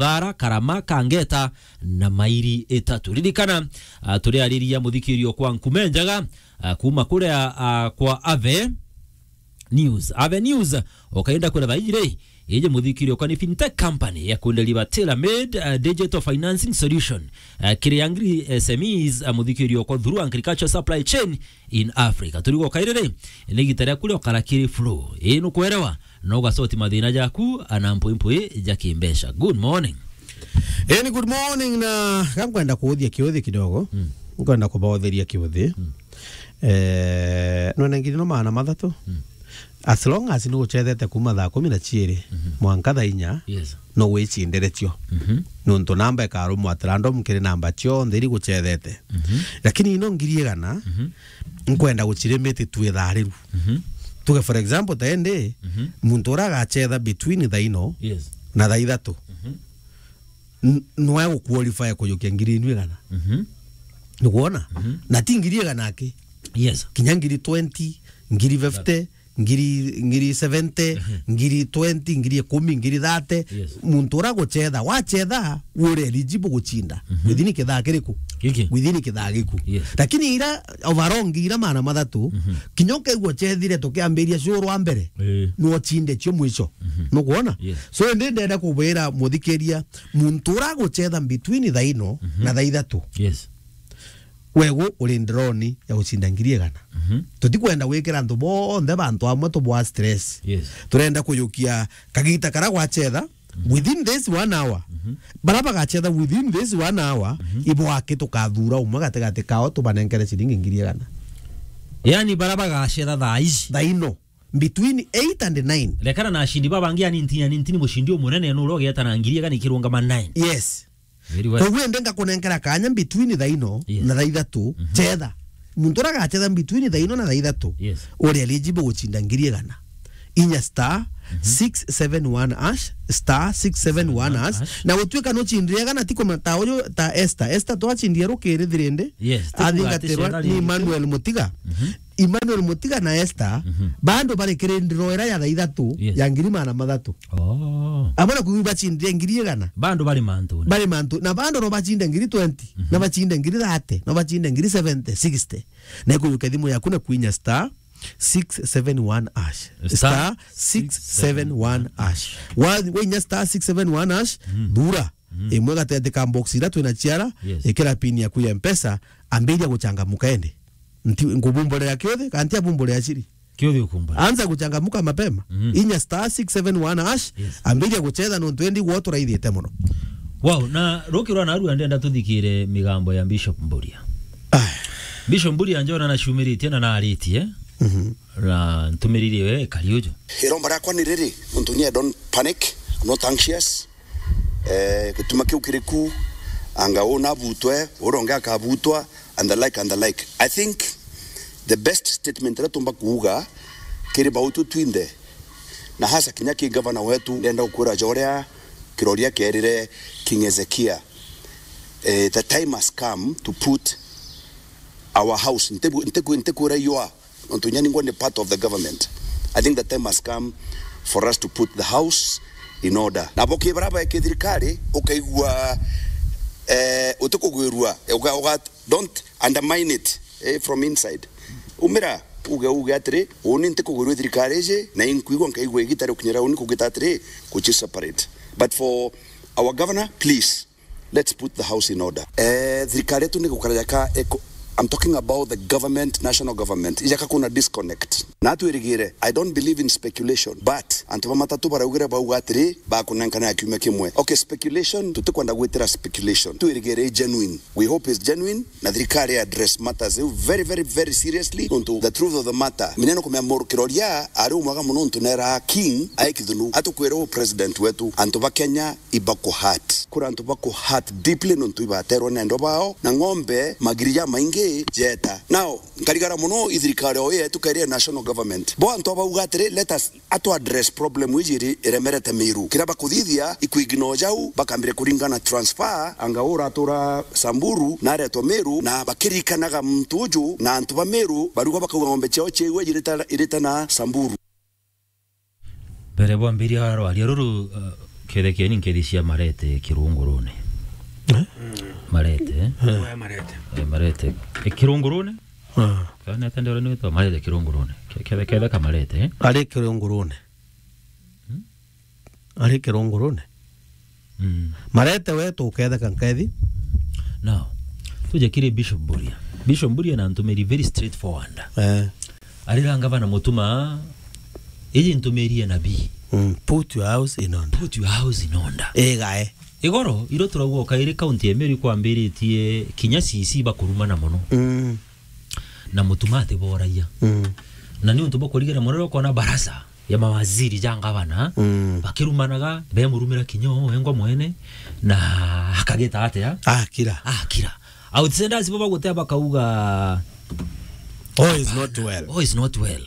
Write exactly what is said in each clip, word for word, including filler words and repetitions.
Thara, Karama, Kangeta na mairi itatu. Ririkana, ah, turiariria muthikirio kwa Nkume Njaga, ah, kuma kuria, ah, kwa Ave News. Ave News, ukaenda kwira thaiji ri, iji muthikirio kwa ni fintech company ya kundeliver tailor-made, ah, digital financing solution, ah, kiri angry S M Es, ah, muthikirio kwa through agriculture supply chain in Africa. Turigo kairiri, ni gita ria kuria ukara kiri flow. Ii nukwerewa, no ugasoti mathina jaku, ana mpwi mpwi ja kimbeca. Good morning. Eni, good morning, na gankwenda kuuthia kiuthi kidogo. Mm. Nkwenda kubaotheria kiuthi. Mm. Eh, nwene ngiri no maana mathatu. Mm. As long as ni guchethete kuma thaa kumi na chiiri, mhm, mwanka thaa inya, yes, no wicindire cio. Mhm. Nontu namba ikarumwa at random kiri namba cionthe iri guchethete. Mhm. Lakini ino ngiri igana, mhm, nkwenda guchirimiti tu ithaa riu. Mhm. Tuge for example, ta indi, mhm, muntu uria agachetha between thaa ino, yes, na thaa ithatu, mhm, n-, nwe guqualify kujukia ngiri inu igana. Mhm. Nikuona? Mhm. Na ti ngiri igana aki. Yes. Kinya ngiri twenty, ngiri fifty, ngiri, ngiri seventy, mhm, ngiri twenty, ngiri ikumi, ngiri thirty. Yes. Muntu uria guchetha, wachetha, uri eligible guchinda. Mhm. Within kithaa kiriku? Giki. Within kithaa giku. Yes. Lakini ira overall ngiri ira maana mathatu, mhm, kinya ukaigua uchethire tukiambiria show rwa mbere, eh, no uchinde cio mwisho. Mhm. Nukuona? Yes. So, indi ndenda kubwira muthikiria, muntu uria aguchetha between thaa ino, mhm, na thaa ithatu, yes, wegu uri ndironi ya gucinda ngiri igana. Mhm. Tutikwenda gwikira antu bonthe bantu amwe tubwa stress. Yes. Turenda kujukia kagita karia gwachetha, mhm, within this one hour. Mhm. Baria bagachetha within this one hour, mhm, ibo aki tukathura umwe gatigati kao tubanenkere ciringi ngiri igana. Yani, baria bagachetha thaa ici, thaa ino, between eight and nine. Rekana na ashindi babangi, yani ntini, yani ntini mushindi umunene nuru ugieta na ngiri igana ikirungama nine. Yes. Very well. Koguo indi ngakunenkera kanya between thaa ino, yes, na thaa ithatu, mhm, chetha. Muntu uria agachetha between thaa ino na thaa ithatu, yes, uri eligible guchinda ngiri igana. Inya star, mhm, six seven one hash, star six seven one hash. Hash. Na gutuika nuchindire igana, ti kumenya ta uyu, ta Esther. Esther twachindie rukiri thirindi. Yes, ti kuga ati athingatirwa chetha ni ringi. Emmanuel Mutiga. Mhm. Emmanuel Mutiga na Esther, mhm, bado bari kirindiro ira ya thaa ithatu, yes, ya ngiri maana mathatu. Oh. Amwe na kuigua bachindire ngiri igana. Bado bari mantu. Bari mantu. Na bado no bachinde ngiri twenty, mhm, na bachinde ngiri thirty, no bachinde ngiri seventy, sixty. Na ikujukia thimu yaku na kwinya star six seven one hash. Star star six seven one hash. Wa-, wainya star six seven one hash, mhm, thura. Mhm. Imwe gatigati ka box ira twina ciara, yes, ikira pin yaku ya Mpesa, ambiria guchangamuka indi. Nti-, nkubumburira kiuthi, kana ntiabumburira ciri? Kiuthi ukumbura. Anza kuchangamuka mapema. Mhm. Inya star six seven one hash, yes, ambiria guchetha nontu indi gwo turaithite muno. Wow, na rukirwa narua ndenda tuthikire migambo ya Bishop Mburia. Ah. Bishop Mburia njona na ciumiritie na naritie. Mhm. Na ntumiriri we kari uju. Iromba riakwa ni riri, nontu ni I don't panic, I'm not anxious. Eh, gituma kiu kiri ku, anga uu nabutwe, uria ungi akabutwa, and the like, and the like. I think the best statement iria tumba kuuga kiri bautu twinthe, na hasa kinya ki gavana wetu, ndenda gukwira ja uria kiroria kierire King Hezekia, eh, the time has come to put our house, ntiku-, ntiku-, ntikwira yua, nontu inya ningwa ni part of the government. I think the time has come for us to put the house in order. Nabo ki baria bae ki thirikari, ukaigua, eh, utikugwirua, uga, uga, don't undermine it, eh, from inside. Umira, uge, uge atiri, uni ntikugwirua thirikari iji, na inkwigua nkaigua igita ria ukinyira uni kugita atiri, kuchi separate. But for our governor, please, let's put the house in order. Eh, thirikari yetu ni gukara jaka eko-, I'm talking about the government, national government. Ijaka kuna disconnect. Na twirigire, I don't believe in speculation, but antu ba matatu baraugire bauga atiri, bakunenkana ya kiumia kimwe. Okay, speculation, tutikwenda gwitira speculation. Twirigire i genuine. We hope is genuine, na thirikari address matters iu very, very, very seriously. Nontu the truth of the matter, mineno kumenya muru kiroria ari umwaga muno ntu nera King ai kithunu. Atukwira u president wetu, antu ba Kenya ibaku hurt. Kuri antu baku hurt deeply nontu ibaterwa ni endwa bao, na ng'ombe magiri jamaingi jeta. Now, nkarigara muno i thirikari o yetu kairi national government. Bo antu abauga atiri, let us atu address problem iji iri iremerete Meru. Kiria bakuthithia, iku ignore jau, bakambire kuringana transfer, anga uratura Samburu, na aretwa Meru, na bakirikanaga muntu uju, na antu ba Meru, barigwa bakauga ng'ombe ciao ciaigua irita, irita na Samburu. Mbere bwambiria rwaria ruru, uh, Kethekeni nkethi cia Marete Kirungurune. Eh? Marete, eh? Eh. Oya Marete. Eh, Marete. Eh, Kirungurune? Ah. Kana atendera ni witwa Marete Kirungurune. Ke-, kethe-, ketheka Marete, eh? Ari Kirungurune. Hmm? Ari Kirungurune. Mm. Marete we tuketheka nkethi. Now, tuje kiri Bishop Mburia. Bishop Mburia na ntumiri very straightforward. Eh. Arira ngavana Mutuma, iji ntumiri ya nabii. Mm. Put your house in order. Put your house in order. Igae. Igoro, iro turauga kairi kaunti ya Meru ikwambiritie kinya C C bakurumana mono. Mm. Na Mutuma atiboragia. Mm. Na ni untu bwa kurigana mono riria ukona barasa ya mawaziri ja ngavana, mm, bakirumanaga, bemurumira kinya o wengwa mwene, na akagita atia? Akira. Akira. Outsiders bo bagutea bakauga, "All is not well." All is not well.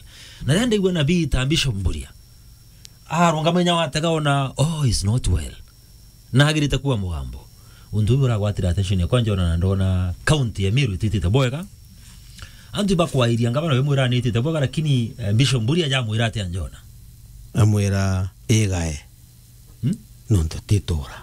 Na riria ndaigua nabii ta Bishop Mburia, arungama inya watega ona, "All is not well." Nagirite kuwa mugambo. Untu uu uragwatire attention yakwa, njona na ndona county ya Meru ititite bwega. Antu ibakwairia ngavana we mwira ni itite bwega, lakini, eh, Bishop Mburia ajamwira atia njona? Amwira, "Igae." Hmm? Nontu titura.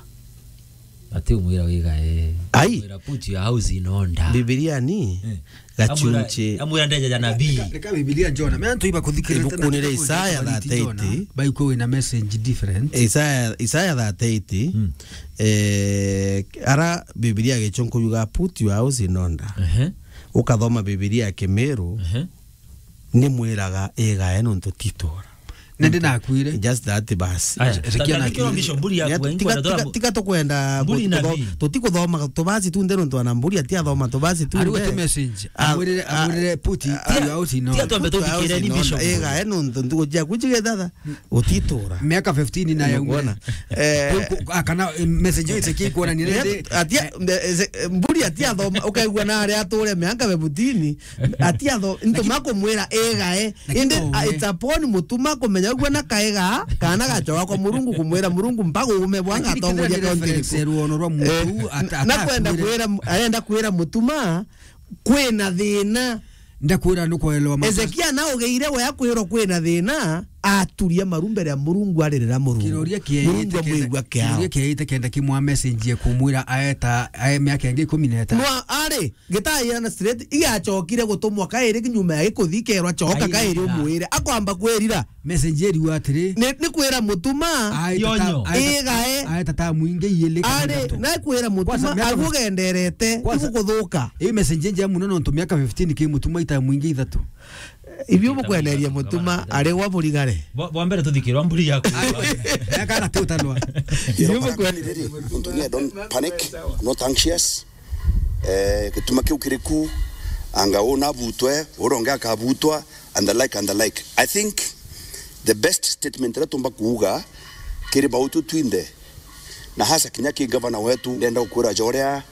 Ati umwira wigae. Ai. Amwira, "Put your house in order." Bibilia ni, eh, gachunchi. Amwira, amwira ndeja ja nabii. Reka, reka Bibilia njona. Me antu iba kuthikirira ibuku ni ria Isaya thirty-eight. Baikwe wina message different. Isaya, Isaya thirty-eight. Mm. Eh, ara Bibilia gichunku yuga, "Put your house in order." Ehe. Ukathoma Bibilia ya Kimiru. Ehe. Ni mwiraga igae nontu titura. Na ndinakwire. Just that basi. Aya, Ezekia ta-, ta-, nakwire. Bishop Mburia. Ni atu-, akuwa, tiga, ingwenda tiga, tora tiga tukwenda Mburi gu-, na kutho-, bi. Tutikuthoma tubasi tu nde nontu ana Mburi atiathoma tubasi tu. Ariwe nde tu message. Ah, amwirire, ah, amwirire, "Put, ah, your house in order." Tiga twambe tuthikire ni Bishop. Igae nontu ntuku ciaku cigethatha utitura. Miaka fifteen na ya. Nikuona? Eh. Ku-, ku-, ah, kana, eh, message yo Ezekia ikuona ni. Ni atu-, atia, eh, mbe-, eze-, Mburi atiathoma, ukaigua na aria ature miaka fifteen, atiatho-, ntuma kumwira, "Igae." Lakini indi, no, ah, we. It's upon Mutuma kumenya uguo na kaega, kana gachoka kwa Murungu kumwira, "Murungu, mpaga uume bwa ngatongoria kaunti iriku?" Lakini kethira ni reference ruono rwa muntu. Eh, ata-, na kwenda atakwire. Kwira, arenda kwira Mutuma, "Kwina thina." Ndakwira nukwelewa makosa. Ezekia na ugeire we akwirwo kwina thina, aturia maru mbere ya Murungu, aririra Murungu. Kiroria kieite Murungu kenda, amwigua kiao. Kiroria kieite kenda kimwa message ya kumwira aeta, ae miaka ingi ikumi na itano. Nwa ari, gitaira na straight, igachokire gutumwa kairi nyuma ya gikuthi kerwa, "Choka kairi." Kairi umwire. Akwamba kwirira. Message iriuga atiri. Ni, ni kwira Mutuma. Aeta ta-, Yonyo. Aeta, igae. Aeta ta mwingi iili kana ari, ithatu. Na kwira Mutuma, kwanza, miaka agu fif-, genderete, kwanza, igukuthuka. Ii message njega muno nontu miaka fifteen ki Mutuma ita mwingi ithatu. Ibio bukweneria Mutuma, ari gwa burigare. Bwa, bwa mbere tuthikirwa Mburi yaku. Miaka na tutanwa. Ibio bukweneria. Nontu ni I don't panic, I'm not anxious. Eh, gituma kiu kiri ku, anga uu nabutwe, uria ungi akabutwa, and the like, and the like. I think the best statement iria tumba kuuga kiri bautu twinthe, na hasa kinya ki gavana wetu, ndenda gukwira joria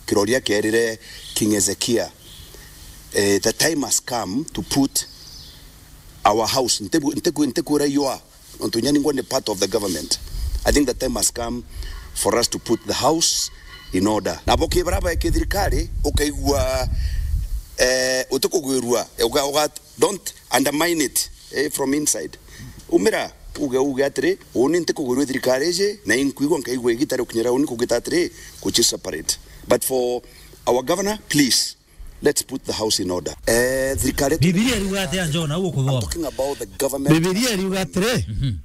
kiroria kierire King Hezekia, eh, the time has come to put our house, ntibu-, ntiku-, ntikwira yua, nontu inya ningwa ni part of the government. I think the time has come for us to put the house in order. Nabo ki bara bae ki thirikari, ukaigua, eh, utikugwirua, uga, uga, don't undermine it, eh, from inside. Umira, uge, uge atiri, uni ntikugwirua thirikari iji, na inkwigua nkaigua igita ri ukinyira uni kugita atiri, kuchi separate. But for our governor, please, let's put the house in order. Eh, thirikari yetu. Bibilia iriuga atia, John, au ukuthoma? I'm talking about the government. Bibilia iriuga atiri, mhm,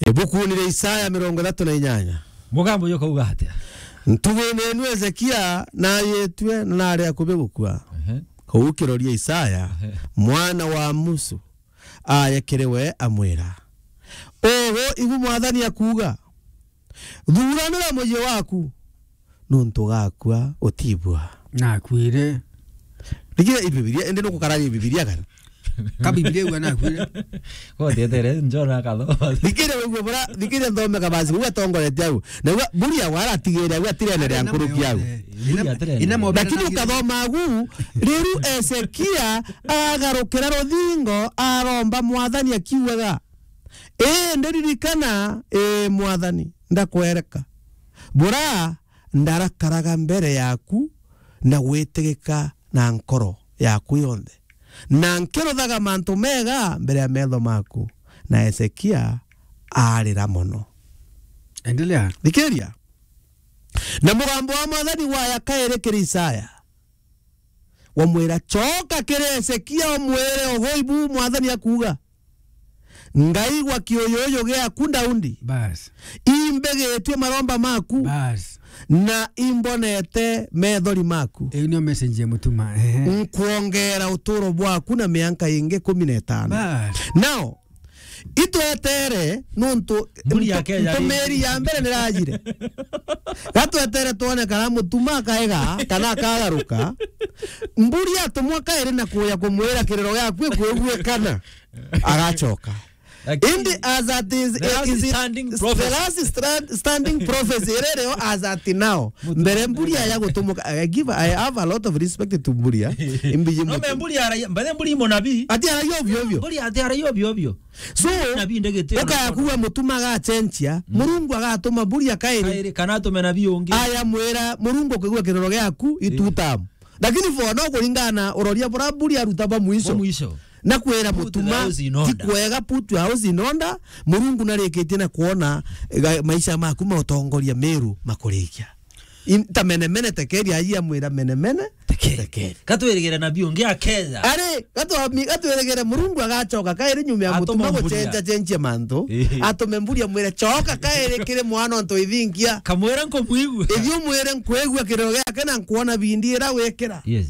ibukuni ria Isaya mirongo ithatu na inyanya. Mugambo uyu ukauga atia? Ntuguine enu Hezekia nayitue na nari akubi gukua. Ehe. Kuu kiroria Isaya, ehe, mwana wa Amusu, aye kiri we amwira, "Ugu igu Mwathani akuuga, thuranira mucii waku, nontu ugakua utibua." Nakuire. Thikira i Bibilia, indi nukukaragia i Bibilia kana? Ka Bibilia iuga nakuire. Gotietere, njona akathoma. Thikira wigue bura, thikira nthome kabasi, uga tongoretie au. Na uga, Buria wara atigire, uga tirene ria nkuruki au. Ina, ina mo-, lakini ukathoma agu, riu Ezekia agarukira ruthingo, aromba Mwathani akiugaga, "Ii, ndiririkana, ii, Mwathani, ndakwereka. Bura ndarakaraga mbere yaku na gwitigika na nkoro yaku yonthe, na nkiruthaga mantu mega mbere ya metho maku." Na Hezekia arira mono. Endelea. Thikiria. Na mugambo wa Mwathani waya kairi kiri Isaya, wamwira, "Coka kiri Hezekia, umwire, 'Ugu ibu Mwathani akuuga: Ngaigua kiuyuyu giaku, Daudi. Bas. Imbigitue maromba maku. Bas. Na imbonete methori maku. Iu niyo message ya mutuma. Ehe. Nkwongera uturo bwaku na mianka ingi kumi na itano. Bas. Now, itwetere nuntu Mburi ya Kenya ntumiri ya mbere nirajire. Gatwetere twone kana mutuma akaega kana akagaruka. Mburi atumwa kairi na kuya kumwira kiriro giaku ikwiguikana, agacoka. Lakini indi as at is, the last is it standing the prophecy. Last stand, standing prophecy iria iriho as at now. Mbere mburi aya gutumuka, I give, I have a lot of respect to Mburia. Imbiji no, mutu. Me Mburi ara, mbere Mburi munabii. Ati ara yo bio bio. Mburi ati ara yo bio bio. So, nabii ndegete ukaya kuwa mutuma agachenjia, Murungu agatuma Mburia kairi. Kairi, kana atume nabii ungi. Aya mwira, Murungu ukigua kiroro giaku, itutam. Lakini for now, kuringana na uroria bura Mburia aruta bwa mwisho. Bwa mwisho. Na kwira mutuma, ti kwega, put your house in order. Murungu narikitie na kuona, eh, maisha maku ma utongoria Meru makurikia. In-, ta menemene tekeri, aji amwira menemene, tekeri. Tekeri. Gatwirigire nabii ungi akeza. Ari, gatwami-, gatwirigire Murungu agacoka kairi nyuma ya atuma mutuma Mburia gucenja cenjia mantu. Ehe. Atume Mburia amwire, "Coka kairi kiri mwana ontu ithingia." Kamwira nkumwigua. Ithi umwire nkwigua kiriro giake na nkwona bindi ira wikira. Yes.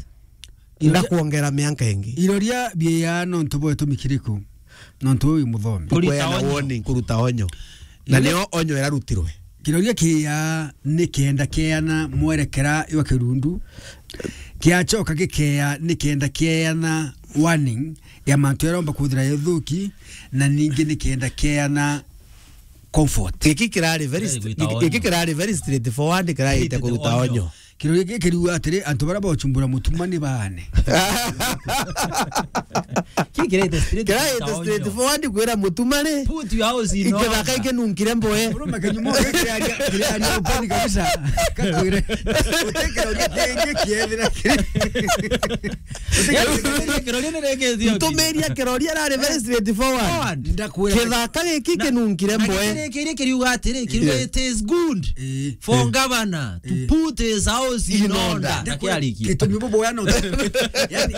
Ndakwongera mianka ingi. Iroria biya nontu bwa itumi kiriku? Nontu uyu muthomi. Kuruta onyo. Kuruta warning, kuruta onyo. Na iroria nio onyo irarutirwe. Kiroria kiya ni kenda keana mwerekera jwa kirundu. Kiacoka gikea ni kenda keana warning ya mantu jaromba kuthira juthuki, na ningi ni kenda keana comfort. Giki kirari very st-, giki kirari very straightforward, kiraite kuruta onyo. Kiroria giki kiriuga atiri, antu baria bochumbura mutuma ni baane. Ki kiraite straight, kiraite straight forward kwira mutuma ri, put your house in order. Ikithaka ikinunkire mboe. Murume kinyumo giki kiraria, kiraria open kabisa. Kakwire. Uti kiroria kingi kiethira kiri. Uti kiroria. Kiroria ni reke thio. Ntumiria kiroria rari very straight forward. Forward. Ndakwira. Kithaka giki kinunkire mboe. Kiri kiriuga atiri, kiruga, it is good for governor to put his house in order. Ndakwira, na kiarikia. Gitumi bubu ya no. Yani,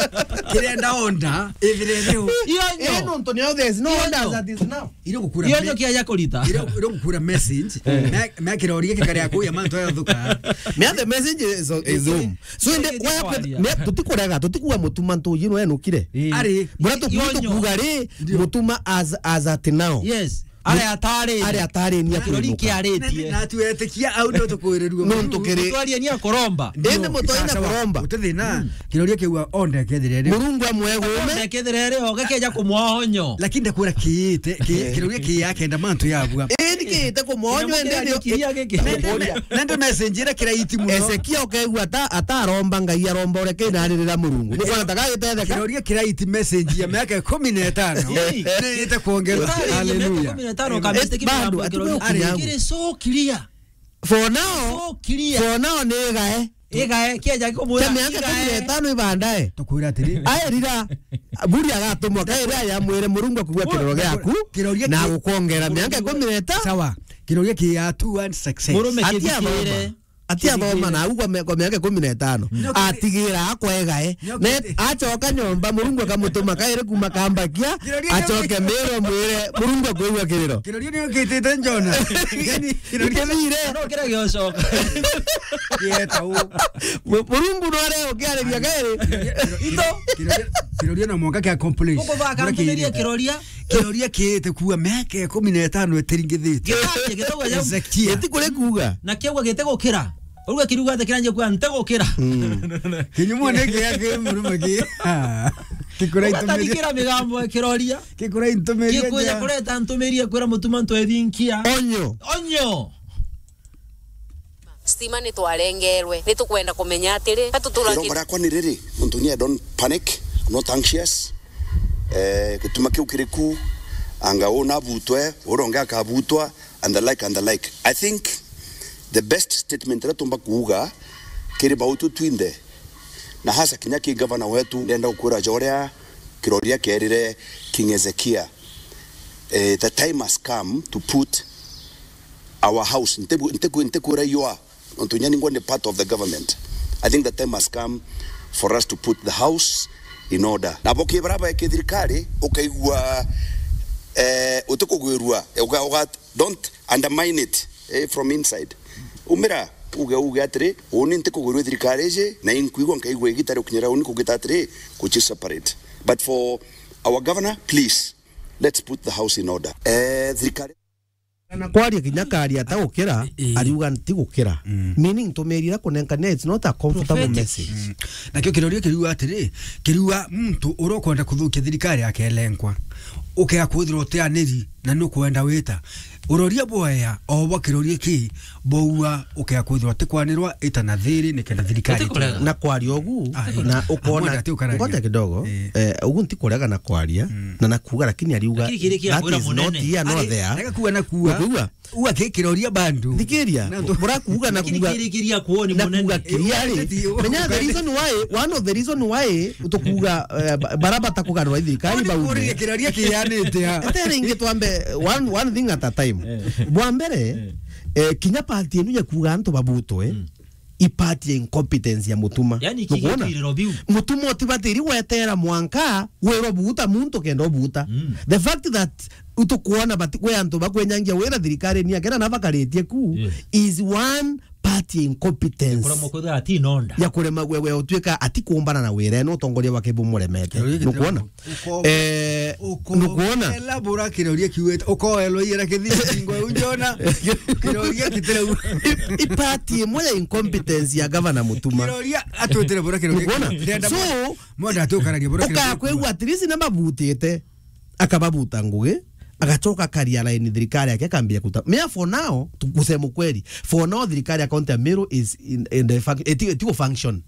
kirenda order, ithire riu. Iyo nyo. Eh, nontu nio there is no order as at is now. Ire gukura. Iyo nyo kia ya kurita. Ire, ire gukura message. Me, me kiroria gikare aku ya mantu ya thuka. Me the message is, is home. So inde kwa me tutikurega, tutikuwa mutuma ntu yino enukire. Ari. Bura tukuga ri, mutuma as, as at now. Yes. Ari atari. Ari atari ni kirori akiaritie. Na tuetikia au no tukuirirua. Nontu kiri. Mutwaria ni akoromba. Indi mutwaria na koromba. Utithina. Kiroria kiu onde kethire ri. Murungu amwegume. Onde kethire ri, oge keja kumwoa onyo. Lakini ndakwira kiite, ki-, kiroria kiya kenda mantu yabua. Indi kiite kumwoa onyo, indi kiria giki. Na ndio message ira kiraiti muno. Ezekia ukegua ata, ataromba Ngai, aromba ureke na aririra Murungu. Nukwana taka gitetheka. Kiroria kiraiti message ya miaka ikumi na itano. Ni ite kuongerwa. Hallelujah. Bado, atukukinyagu. Kiri so clear. For now, so clear. For now ni igae. Igae, kieja kumwira. Kia miaka igae. Kumi na itano ibandae. Tukwira atiri. Aerira, Buri agatumwa kairi aya mwire Murungu akugua kiroro giaku. Kiroria na ki-, gukongera miaka ikumi na itano. Sawa. Kiroria ki ya two and success. Murume. Ati athoma. Ati athoma na au kwa me-, kwa miaka ikumi na itano. Atigira akwa igae. Na acoka nyomba, Murungu akamutuma kairi kuma kambakia, acoke Meru amwire, Murungu akwigua kiriro. Kiroria ni ukitite Jona. Kiroria. Ikithire. No kira giocoka. Yeta u. Mu-, Murungu no are ukiariria kairi. Ito. Kiroria, kiroria na mwaka kia accomplish. Guku baka ntumirie kiroria. Kiroria kiite kuuga miaka ikumi na itano itiringithitue. Gitambia gitauga jau. Ezekia. Giti kuri kuuga. Na kiauga giti gukira. Uruga kiriuga ati kiranjia kuuga nti gukira. Mm. Kinyumo ni kia ki murume ki. Kikura itumiri. Ugatarikira migambo ya kiroria. Kikura intumirie. Gikuja kureta ntumirie kwira mutuma ntwethinkia. Onyo. Onyo. Stima ni twarengerwe, ni tukwenda kumenya atiri, ka tutura. Irongo riakwa ni riri, nontu ni I don't panic, I'm not anxious. Eh, gituma kiu kiri ku, anga uu nabutwe, uria ungi akabutwa, and the like, and the like. I think the best statement iria tumba kuuga kiri bautu twinthe, na hasa kinya ki gavana wetu, ndenda gukwira ja uria kiroria kierire King Hezekia, eh, the time has come to put our house. Ntibu-, ntiku-, ntikwira you are. Nontu inya ningwa ni part of the government. I think the time has come for us to put the house in order. Na bo kibara bae ki thirikari, ukaigua, eh, utikugwirua, uga, uga, don't undermine it, eh, from inside. Umira, uge, uge atiri, uni ntikugwirua thirikari iji, na inkwigua nkaigua igita ri ukinyira uni kugita atiri, kuchi separate. But for our governor, please, let's put the house in order. Eh, thirikari Na kwaria kinya karia ta gukira, Ii. ariuga nti gukira. Mm. Meaning, ntumiri ira kunenkania, it's not a comfortable Prophetic. message. Mm. Nakio kiroria kiriuga atiri, kiriuga muntu uria ukwenda kuthukia thirikari akelenkwa. Ukea kwithirwa utianiri na nukwenda wita. Uroria bwaya, o bwa kiroria ki, bwaua ukea kwithirwa tikwanirwa ita na thiri nikenda thirikari Utikurega. Na kwaria ugu, Ah, ii. na ukona, Amwenda ati ukararia. ngoja kidogo, Ii. eh, ugu nti kurega na kwaria, Mm. na nakuga, lakini ariuga, Lakini kiri kia that kwira is not munene. here nor Ari, there. rega kuga na kuga. Ukuigua? Uga kikiroria bandu. Thikiria, Na ndo- burakuga na Lakini kuga, kiri kiria kuoni na munene. kuga kiria ri. Ii, uu, Menya the reason why, one of the reason why tukuga, eh, ba-, bara batakugarura thirikari Uu ni bauge. kuria kiroria kianite ha. Etere ingi twambe, one, one thing at a time. Eh. Bwa mbere, Eh. eh, kinya party enu ya kuga antu babutwe, Mm. i party ya incompetence ya Mutuma. Yani, iki Nukwona? gitwiriro biu. Mutuma utibatiri gwetera mwanka wirwa buuta muntu kenda ubuuta. Mm. The fact that utukwona bati-, kwi antu bakwenyangia wira thirikari ni akena na bakaritie ku Yeah. is one party ya incompetence. Kuremwa kwithira ati nonda. Ya kurema gwe, gwe utuika ati kuumbana na wira eno utongoria bwake bumuremete. Kiroria gitira Nukwona? Uko-, Eh, uko-, nukwona? Ela bura kiroria kiwete, ukoelwa iyera kithiri ngo unjona. Kiroria kitira u- I-, i party imwe ya incompetence ya governor Mutuma. Kiroria atwetire bura kiroria. Nukwona? Ndenda So, mo-, moda atukararia bura kiroria. Ukakwigua at least na mabutite. Akababuta ngugi, agacoka akaria line thirikari yake akambia kuta. Mea for now, tu-, kusema ukweli, for now thirikari ya county ya Meru is in, in the func-, eti-, etigo function.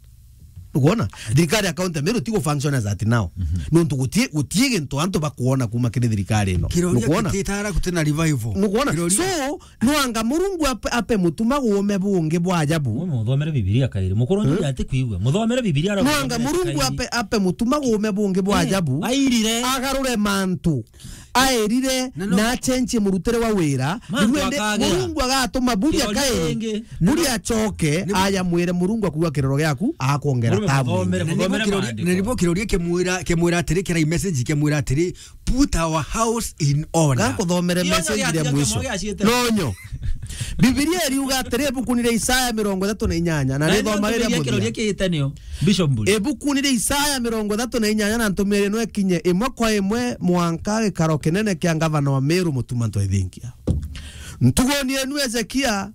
Ukwona? Thirikari ya county ya Meru tigo function as at now. Mhm. Nontu gutie, gutie gintu antu bakuona kuma kiri thirikari ino. Kiroria Nukwona? Kititara kutina revival. Nukwona? Kiroria. So, nwanga Murungu ape, ape Mutuma guume bungi bwa ajabu. Mwe muthomere Bibilia kairi. Mukuru Hmm? njuge ati kwigua. Muthomere Bibilia ara Nwanga muthomere Murungu kairi. ape, ape Mutuma guume bungi bwa Eh, ajabu. airire. Agarure mantu. Airire Na no- na achenjie murutire wa wira. Mantu Niguo ndi akagera. Murungu agatuma buri Kiroria akae. ringi. Buri acoke, Nibu- aya mwire Murungu akuga kiroro giaku, akwongera Murungu tabu. muthomere, Na nibu muthomere kiroria, maandiko. na nibu kiroria kimwira, kimwira atiri, kirai message kimwira atiri, "Put our house in order." Gakuthomere Kionyo message gia ria tiga mwisho. Kionyo gia ciete. Nonyo. Bibilia iriuga atiri, ibuku ni ria Isaya mirongo ithatu na inyanya, na Na nithoma ndio riria Bibilia muthia. Kiroria kiite nio. Bishop Mburi. Ibuku ni ria Isaya mirongo ithatu na inyanya na ntumiri no ikinye imwe kwa imwe mwanka gikaro kinene kia ngavana wa Meru Mutuma Ntwethinkia. Ntuguni enu Ezekia,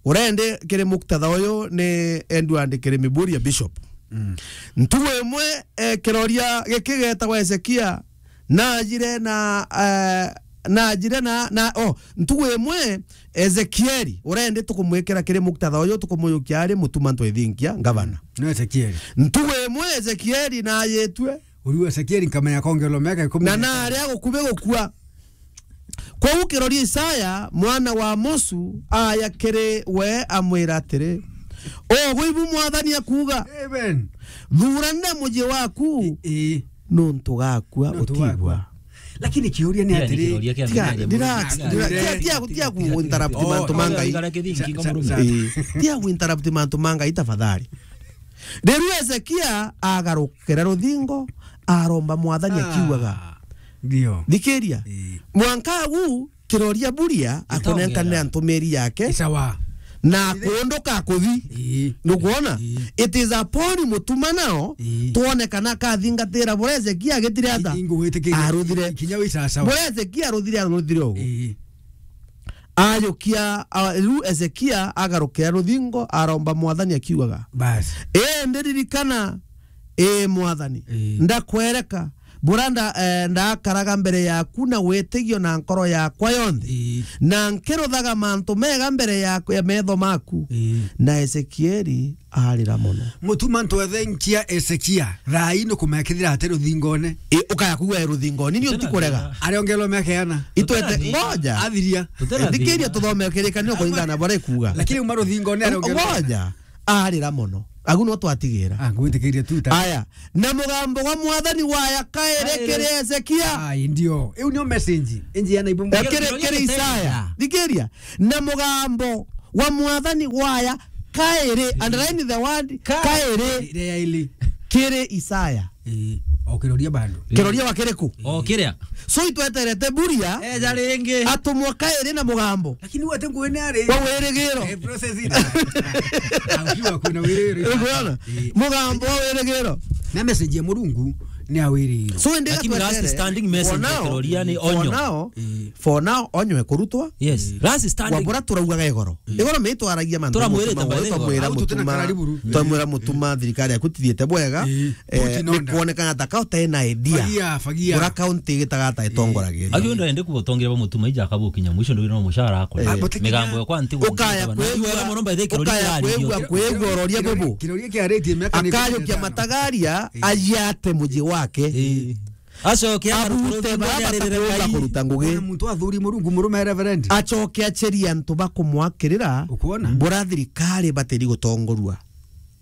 urendi kiri muktadha uyu ni Edward kiri Miburia Bishop. Mm. Ntugu imwe, eh, kiroria giki getagwa Ezekia, najire na, eh, najire na, na, oh, ntugu imwe Ezekieli, urendi tukumwikira kiri muktadha uyu, tukumuyukia ari Mutuma Ntwethinkia, ngavana. No Ezekieli. Ntugu imwe Ezekieli najitue. Uriu Ezekieli nkamenya kongerwa miaka ikumi Na na itano. Nari agukubi gukua. Kwou kiroria Isaya, mwana wa Amosu, aya kiri we amwira atiri, "Ugu ibu Mwathani akuuga, Amen. Thuranira muji waku, Ii. nuntu gakua Nuntu utigwa." gakua. Lakini kiuria ni Pia ni atiri, kiroria kia Tiga, Bibilia, relax, Bibilia. relax. Tia, tia, tia ku interrupt Oh, mantu ma Ngai. Ikara kithingi Sa-, ngo sa-, murume. sa- Ii, tia ku interrupt mantu ma Ngai tafadhali. Riu Ezekia agarukira ruthingo, aromba Mwathani Ah, akiugaga, ndio. Thikiria. Ii. Mwanka agu kiroria buria akunenkanira ntumiri yake Isawa. na akunduka akuthi. Ii. Nukwona? Ii. It is upon Mutuma now Ii. twone kana akathingatira buria Ezekia agitire ata? Ii, ingugwitikiria. Aruthire. Kinya wi sawa sawa. Buria Ezekia aruthire, aruthire ugu. Ii. Ayukia, a, riu Ezekia agarukira ruthingo, aromba Mwathani akiugaga, Bas. "Ii, ndiririkana, ii Mwathani, Ii. ndakwereka, buria nda-, eh, ndakaraga mbere yaku na witigio na nkoro yakwa yonthe, Ii. na nkiruthaga mantu mega mbere ya, ya metho maku." Ii. Na Ezekieli arira mono. Mutuma Ntwethinkia Ezekia, thaa ii nukumenya kethira ati ruthingone. Ii, ukaya kuuga e ruthingoni, ni utikurega. Ariongerwa miaka yana. Itwete, Tutarathi- ngoja. Athiria. Tutarathi- Thikiria tuthome kirikaniro kuringana na baria ikuuga. Lakini uma ruthingone ariongerwa. Ngoja. Arira mono. Agu no twatigira. Ah, ngwitikiria tu ta. Aya, na mugambo gwa Mwathani waya kairi. Kairi. Kiri Hezekia. Ai, ndio. Iu nio message. Inji ya na ibu. Eh, kiri, kiri Isaya. Thikiria. Na mugambo gwa Mwathani waya kairi. Underline the word kairi. Kairi. Ria ili. Kiri Isaya. Eh, o kiroria bado. Kiroria wa kiriku? O kiria. So itweterete Mburia. Eja ringi. Atumwa kairi na mugambo. Lakini wate nguene ari. Wa wirigiro. Eh, process ina. Au kiwa kuna wirigiro. Ukwona? Eh. Mugambo wa wirigiro. Na message ya Murungu ni a wirigiro. So indi. Lakini last gatwetere. Standing message for now, kiroria ni for onyo. Now, eh, for now, onyo ekurutwa. Yes. Last standing. Wabura turaugaga igoro. Igoro me itwaragia mantu. Turamwirite mutuma, by the way, twamwira au tutena mutuma, karari buru. Twamwira mutuma thirikari yaku tithiete bwega. Eh, eh, put in order. Ni kuonekana ta ka utena idea. Fagia, fagia. Kura county igitaga ta itongoragiria. Agi ndo ende kubotongira ba mutuma ija akabukinya mwisho ndo no mushara akora. Eh. Ah, but migambo ya kwa nti. Ukaya kwigua, wega mono by the way, ukaya kwigua, kwigua uroria bubu. Kiroria kia rate miaka ni akajukia kumi na itano. Matagaria, eh, ajiate muji wake. Eh. Acoke abute baba aririre batakuumba Ngai. Kuruta ngugi. Ona muntu athuri Murungu murume Reverend. Acoke acherie antu bakumwakirira. Ukwona? Mbura thirikari batiri gutongorua.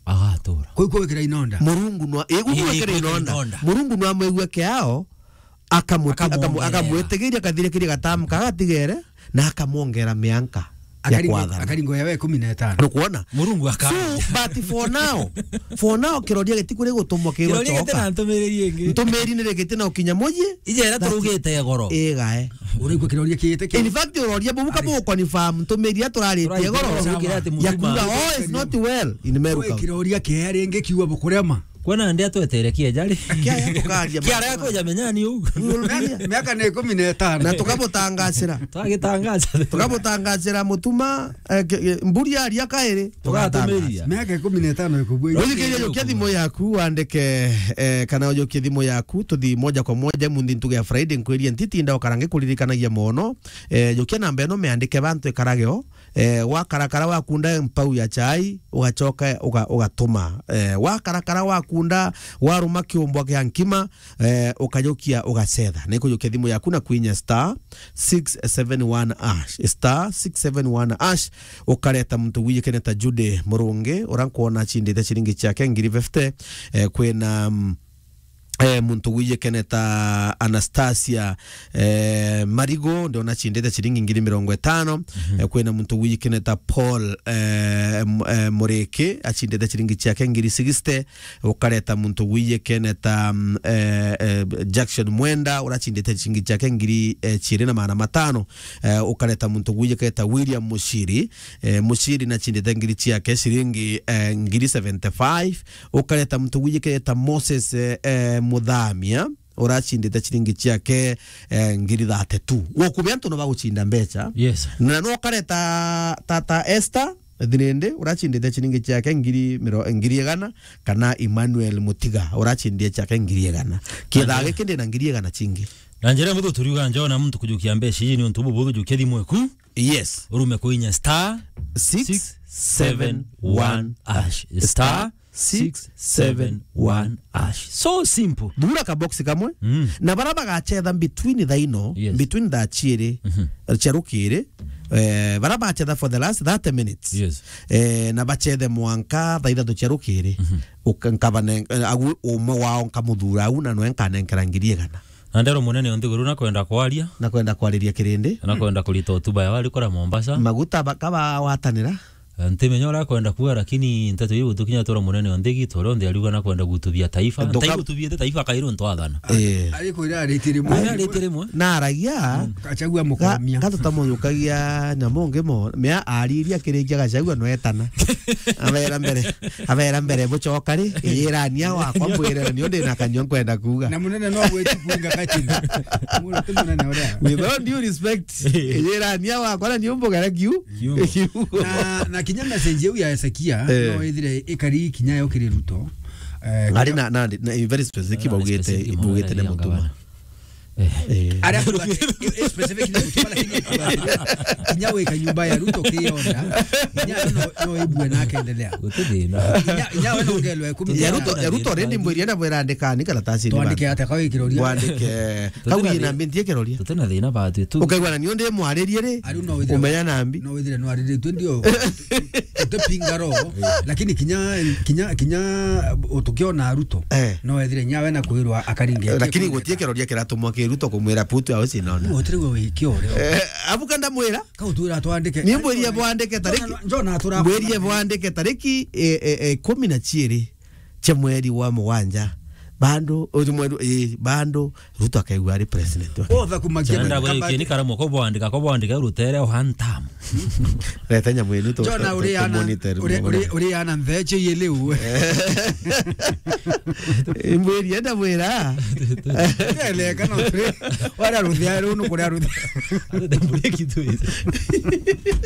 Agatura. Kuu kwikira inonda. Murungu nwa, igu. Ii, kwikira inonda. Murungu nwa mwigua kiao, akamuti-, akamu-, akamwitigiria kathirikiria gatamu kagatigere. Na akamwongera mianka ya akaringo-, kwathana. Akaringo ya we kumi na itano. Nukwona? Murungu aka-. So, but for now, for now, kiroria giti kuri gutumwa kirwa. Kiroria giti choka. Na ntumiri ingi. Ntumiri ni rigiti na ukinya muji. Ije ira turugite igoro. Igae. Uraigua kiroria kiite ki-. In fact, uroria bubu kabu confirm ntumiri aturarite igoro. Turaite igoro, ya kuga, "Oh, it's not well in Meru County." Kiroria kia ringi kiuga bukurema. Kwona ndi atwetere kieja ri? Kiaja tukaria. Kiara kuja menya ni u. Miaka ni kumi na itano. Na tukabutangacira. Twagitangaca. Tukabutangacira mutuma, eh, ke-, ke-, mburi aria kairi. Tugatumiria. Miaka ikumi na itano ikubua. Uthikiria, jukia thimu yaku, wandike, eh, kana ujukie thimu yaku, tuthi moja kwa moja, munthi ntuge ya Friday, nkwirie ntitinda ukarange kuririkanagia mono. Eh, jukia namba ino, miandike bantu ikarage o. Eh, wakarakara wakunda mpau ya chai, ugachoka uga-, ugatuma. Eh, wakarakara wakunda waruma kiumbwa kia nkima, eh, ukajukia ugacetha. Na ikujukia thimu yaku na kwinya star six seven one hash. Star six seven one hash, ukareta muntu wijikene ta Jude Murungi, ura nkwona achindite chiringi chiake ngiri fifty, eh, kwina, mm, eh, muntu wijikene ta Anastasia, eh, Marigo, ndiona achindite chiringi ngiri mirongo itano. Mhm. Eh, kwina muntu wijikene ta Paul, eh, M-, eh, Muriki, achindite chiringi chiake ngiri sixty. Ukareta muntu wijikene ta, mm, eh, eh, Jackson Mwenda, urachindite chiringi chiake ngiri, eh, chiiri na magana matano. Eh, ukareta muntu wijikene ta William Mushiri, eh, Mushiri nachindite ngiri chiake chiringi, eh, ngiri seventy-five. Ukareta muntu wijikene ta Moses, eh, eh, Muthamia, urachindite chiringi chiake, eh, ngiri thirty-two. Gukubia antu no baguchinda mbecha. Yes. Na no ukareta ta, ta Esther Thirindi, urachindite chiringi chiake ngiri miro-, ngiri igana, kana Emmanuel Mutiga, urachindie chiake ngiri igana. Kithaa giki ndina ngiri igana chingi. Na njira muthu turiuga njona muntu kujukia mbecha iji ni untu bubuthu, jukia thimu eku. Yes. Urume kuinya star six seven one hash. Star six seven one hash. So simple. Thura ka box kamwe. Mm. Na bara bagachetha between thaa ino, yes, between thaa chiiri, mhm, cia rukiri, eh, bara bachetha for the last thirty minutes. Yes. Eh, na bachethe mwanka thaa ithatu cia rukiri. Mhm. Uka-, nkabane-, eh, agu umwe wao nkamuthura au na nwe nkanenkera ngiri igana. Na ndero munene o nthiguru nakwenda kwaria. Nakwenda kwariria kirindi. Nakwenda kurita hotuba ya wari kura Mombasa. Maguta ba-, kabawatanira. Eh, ntimenya uria akwenda kuuga, lakini nteto iu tukinya tura munene o nthi gitu, uria onthe ariuga nakwenda gutubia taifa. Nduka- Ntai gutubiete taifa kairi untu athana. Eh. Ari kwira ariti rimwe. Ari ariti rimwe. Na aragia. Mm. Achagua ga-, mukomia. Ga tutamunyukagia nyamu ungi mo, mea ariria kirikia Gachagua no etana. Abera mbere, abera mbere bucoka ri, iyirania wakwa mbwire ni undi na kanyua nkwenda kuuga. Na munene no gweti kuinga kachini. Muro ti munene uria. With all due respect, iyirania wakwa na ni umbugara kiu. Kiugo. Kiugo. Na, na kinya message iu ya Hezekia, eh, no ithire ikari kinya yo kiri Ruto. Eh, ari kinya na, na, na very specific, ah, baugite, specific, baugite ni mutuma. Eh. Eh. Aria specific ni mutuma, lakini kinya wika nyumba ya Ruto kionda, kinya no, no ibue na akendelea. Guti thina. Kinya, kinya we no ngelwe ikumi. Ya Ruto, ya Ruto already mbwirie na bwira andika ni karatasi ni. Twandike bana. Ata kwa kiroria? Wandike. Kau ina mbintie kiroria. Tutena thina batu tu. Ukaigua na ni undi mwaririe ri? Ari no withire. Umenya nambi. No withire no ariritwe ndio. Tupinga roho, lakini kinya, kinya, kinya utukiona Ruto, eh, no ethire nya we na kwirwa akaringe. Lakini gutie kiroria kiratumwa ki Ruto kumwira putu au sinona. Gutire we wikio rio. Eh, abuka ndamwira. Ka utwira twandike. Ni mbwirie bwandike tariki. Njona atura. Mbwirie bwandike tariki, eh, eh, eh, kumi na ciiri cia mweri wa mugwanja. Bandu, uju mweri, eh, bandu, Ruto akaigua ari president wa Kenya. Otha kumakia. Chanda mwene we kabati. Kini karamu ko bwandika, ko bwandika rutere o hantam. Reta nyamu inu tu-, Jona tu-, uri tu-, ana, tumonitor uri, mwana. Uri, uri ana mbeche ye liu. Imbwiri enda mwira. Ele kana uri. Wala ruthia ru nu kuria ruthia. Ate dembure kitu hizi.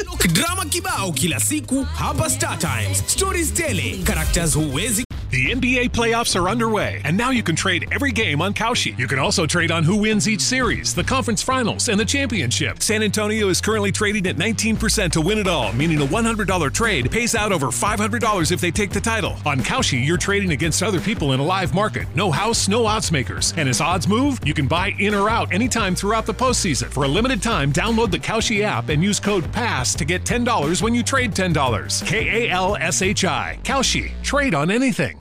Look, drama kibao kila siku hapa Star Times. Stories tele, characters huwezi The N B A playoffs are underway, and now you can trade every game on Kalshi. You can also trade on who wins each series, the conference finals, and the championship. San Antonio is currently trading at nineteen percent to win it all, meaning a one hundred dollar trade pays out over five hundred dollars if they take the title. On Kalshi, you're trading against other people in a live market. No house, no odds makers. And as odds move, you can buy in or out anytime throughout the postseason. For a limited time, download the Kalshi app and use code pass to get ten dollars when you trade ten dollars. K A L S H I. Kalshi. Trade on anything.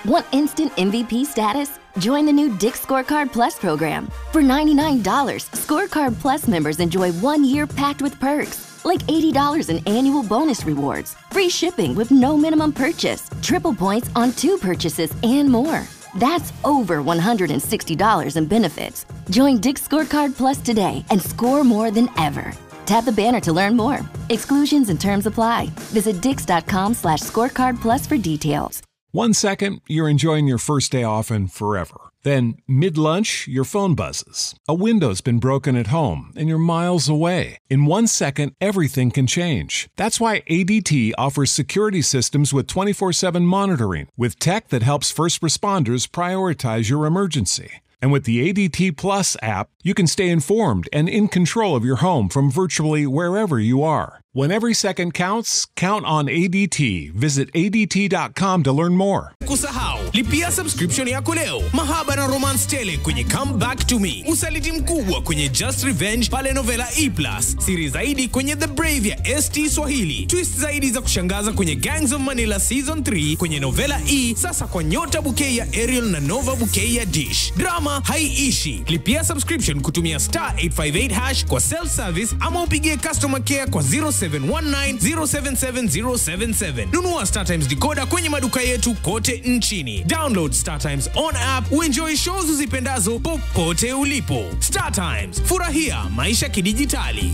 Want instant M V P status? Join the new Dick's Scorecard Plus program. For ninety-nine dollars, Scorecard Plus members enjoy one year packed with perks, like eighty dollars in annual bonus rewards, free shipping with no minimum purchase, triple points on two purchases, and more. That's over one hundred sixty dollars in benefits. Join Dick's Scorecard Plus today and score more than ever. Tap the banner to learn more. Exclusions and terms apply. Visit dicks.com/scorecardplus for details. One second, you're enjoying your first day off and forever. Then, mid lunch, your phone buzzes. A window's been broken at home and you're miles away. In one second, everything can change. That's why A D T offers security systems with twenty-four seven monitoring, with tech that helps first responders prioritize your emergency. And with the A D T Plus app, you can stay informed and in control of your home from virtually wherever you are. When every second counts, count on A D T. Visit A D T dot com to learn more. Kusahau, lipia subscription yako leo. Mahaba na romance tele kwenye Come Back to Me. Usaliti mkubwa kwenye Just Revenge pale Novela E plus. Siri zaidi kwenye The Brave ya S T Swahili. Twist zaidi za kushangaza kwenye Gangs of Manila Season three kwenye Novela E, sasa kwa Nyota Bouquet ya Ariel na Nova Bouquet ya Dish. Drama haiishi. Lipia subscription kutumia star eight five eight hash kwa self service ama upigie customer care kwa zero seven one nine zero seven seven zero seven seven. Nunua StarTimes decoder kwenye maduka yetu kote nchini. Download StarTimes on app, uenjoy shows uzipendazo popote ulipo. StarTimes, furahia maisha kidijitali.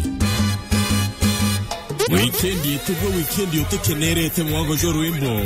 Wikendi itugwe wikendi utikenerete mwago jwa rwimbo.